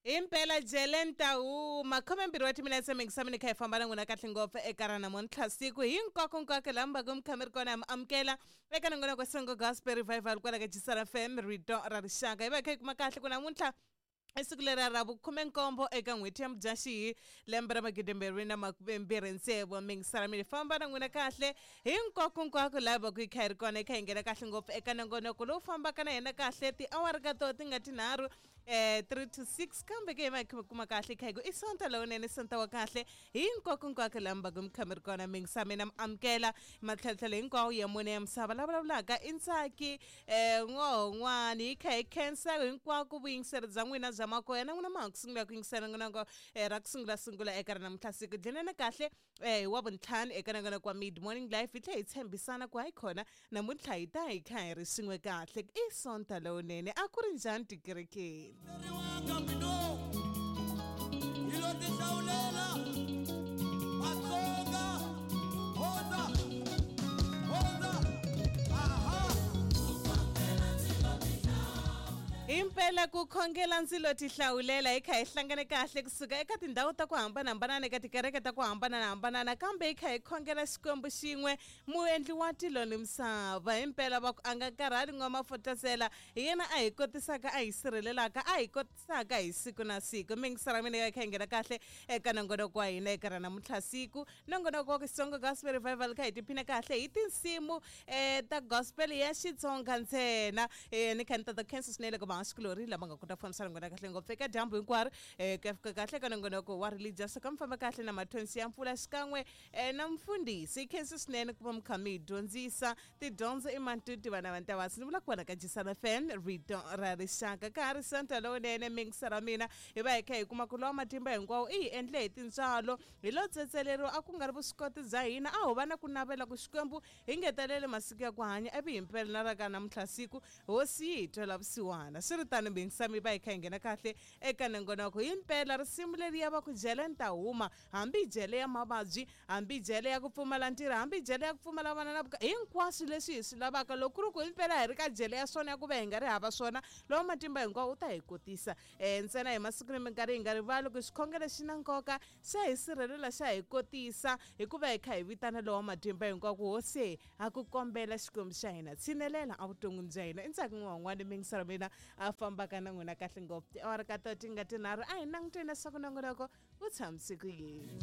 Himpela jele ni ta huma 12 wa timinetse mingisamini kha hi famba na n'wina kahle ngopfu eka ra namuntlha siku hinkwako-nkwako laha mi va ku mi kha mi ri kona mi amukela eka nongonoko Songo Gospel Revival kwala ka Jisara FM rito ra rixaka hi va hi kha hi kuma kahle ku namuntlha i siku leri ra vukhume-nkombo eka n'hweti ya Mudyaxihi lembe ra magidimbirhi na makumembirhi tsevu mingisaramini famba na n'wina kahle hinkwako-nkwako laha va ku yi kha yi ri kona yi kha yi nghena kahle ngopfu eka nongonoko lowu fambaka na hina kahle tiawara ka toho ti nga tinharhu 3 to 6 kambe ke hi va hi kha kuma kahle kha hi ku i sonta lowunene sonta wa kahle hinkwako-nkwako laha mi va ku mi kha mi ri kona mingisa mina mi amukela matlhalotlhalo hinkwawo ya mune ya misava la vulavulaka i Ntsaki n'wohon'wani hi kha hi khensa hinkwako vuyingiseri bya n'wina bya makoya na n'wina ma ha ku sungula ku yingisela nongonoko ra ku sungula sungula eka ra namuntlha siku dlenene kahle hi wa vuntlhanu eka nongonoko wa mid morning life hi tlhela hi tshembisana ku hayi khona namuntlha hi ta hi kha hi ri swin'we kahle i sonta lowunene a ku ri njhani tikerekeni Hi lo tihlawulela Vatsonga Hundza Hundza Aha Himpela ku khongela ndzi lo tihlawulela hi kha hi hlangane kahle kusuka eka tindhawu ta ku hambanahambana eka tikereke ta ku hambanahambana kambe hi kha hi khongela Xikwembu xin'we muendli wa tilo ni misava himpela va ku a nga karhali n'wamafotasela hi yena a hi kotisaka a hi sirhelelaka a hi kotisaka hi siku na siku mingisara mina ya kha hi nghena kahle eka nongonoko wa hina eka ra namuntlha siku nongonoko wa Xitsonga Gospel Revival kha hi tiphina kahle hi tinsimu ta gospel ya Xitsonga ntsena ni kha ni tata khensa swinene ka vahaxikulorhi lava nga kota ku fambisa rungula kahle ngopfu eka dyambu hinkwaro ku ya fika kahle ka nongonoko wa religious ka mi famba kahle na mathonsi ya mpfula xikan'we na mfundhisi khensa swinene ku va mi kha mi hi dyondzisa tidyondzo i mantuti vana va ntavasi ni vula ku vona ka Jisana FM rito ra rixaka ka ha ri sonto lowunene mingisa ra mina hi va hi kha hi kuma ku lowa matimba hinkwawo i hi endle hi tintswalo hi lo tsetseleriwa a ku nga ri vuswikoti bya hina a ho va na ku navela ku Xikwembu hi ngetelele masiku ya ku hanya ivi himpela na ra ka namuntlha siku hosi yi hi twela vusiwana swi ri tano mingisa mi va hi kha hi nghena kahle eka nongonoko himpela risimu leriya va ku jele ni ta huma hambi jele ya mavabyi hambi jele ya ku pfumala ntirho hambi jele ya ku pfumala vana na vuka hinkwaswo leswi hi swi lavaka loko ku ri ku himpela hi ri ka jele ya swona ya ku va hi nga ri hava swona lowa matimba hinkwawo u ta hi kotisa ntsena hi masiku ni minkarhi hi nga rivali ku xikhongelo xi na nkoka xa hi sirhelela xa hi kotisa hikuva hi kha hi vitana lowa matimba hinkwawo ku hosi ha ku kombela Xikwembu xa hina tshinelela evuton'wini bya hina i Ntsaki n'wan'wani mingiselo mina a fambaka na n'wina kahle ngopfu tiawara ka to ti nga tinharhu a hi languteni leswaku nongonoko wu tshamise ku yini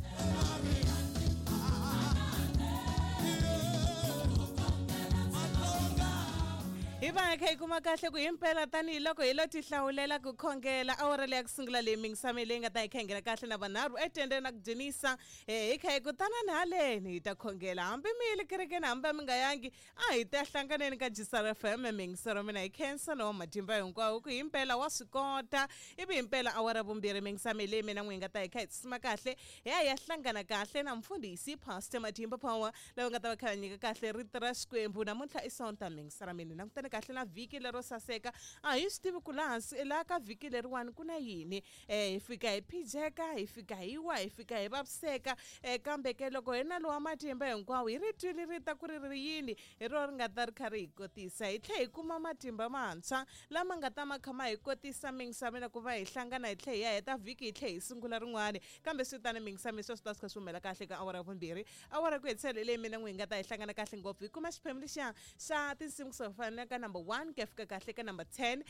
hi va hi kha hi kuma kahle ku himpela tanihiloko hi lo tihlawulela ku khongela awara leya ku sungula leyi mingisame leyi nga ta hi kha hi nghena kahle na vanharhu etendeni na ku dzunisa hi kha hi ku tanani haleni hi ta khongela hambi mi yile kerekeni hambi mi nga yangi a hi ta hlanganeni ka Jisara FM mingisero mina hi khensa lowa matimba hinkwawo ku himpela wa swi kota ivi himpela awara vumbirhi mingisame leyi mina n'wi hi nga ta hi kha hi tsima kahle hi ya hi ya hlangana kahle na mfundhisi Pastor Matimba Power lava nga ta va kha va nyika kahle rito ra Xikwembu namuntlha i Sonta mingisera mina langutane kahle na vhiki lero saseka a hi swi tivi ku laha hansi laha ka vhiki leriwani ku na yini hi fika hi phijeka hi fika hi wa hi fika hi vaviseka kambe ke loko hi na lowa matimba hinkwawo hi ri twile ri ta ku ri ri yini hi rona ri nga ta ri kha ri hi kotisa hi tlhe hi kuma matimba mantshwa lama nga ta ma kha ma hi kotisa mingisameni ku va hi hlangana hi tlhe hi ya heta vhiki hi tlhe hi sungula rin'wani kambe swi tani mingisami sweswo swi ta swi kha swi humela kahle ka awara ya vumbirhi awara ku hetisela hi leyi mina n'wi hi nga ta hi hlangana kahle ngopfu hi kuma xiphemu lexiya xa tinsimu kusuka fana ka number 1 ku ya fika kahle ka number 10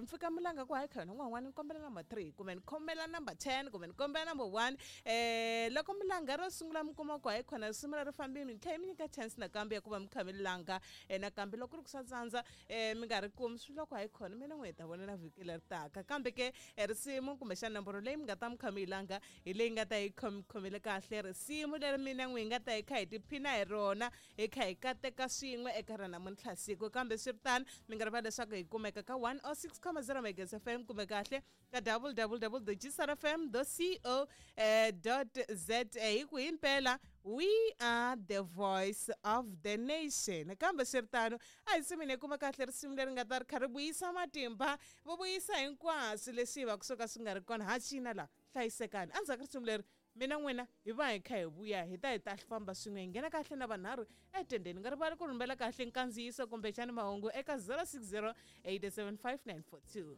mpfhuka mulanga ku hayi khona n'wan'wana ni kombela number 3 kumbe ni kombela number 10 kumbe ni kombela number 1 loko mulanga ro sungula mi kuma ku hayi khona risimu ri fambile mi tlhela mi nyika chance nakambe ya ku va mi kha mi langa nakambe loko ku ri ku swa tsandza mi nga ri kumi swi loko hayi khona mina n'wi hi ta vona na vhiki leri taka kambe ke risimu kumbexana nomboro leyi mi nga ta mi kha mi yi langa hi leyi nga ta yi khomile kahle risimu leri mina n'wi hi nga ta hi kha hi tiphina hi rona hi kha hi kateka swin'we eka ra namuntlha siku kambe swi ri tano mi nga rivali leswaku hi kumeka ka 106.0 Megahertz FM kumbe kahle ka www.gsrfm co za hi ku himpela we are the voice of the nation kambe swi ri tano a hi simini hi kuma kahle risimu leri nga ta ri kha ri vuyisa matimba vo vuyisa hinkwaswo leswi hi va ku swo ka swi nga ri kona ha cina la hlayisekani endzhaku ka risimu leri mina n'wina hi va hi kha hi vuya hi ta hi ta famba swin'we hi nghena kahle na vanharhu etendeni nga rivali ku rhumela kahle nkandziyiso kumbexani mahungu eka 060 875 942.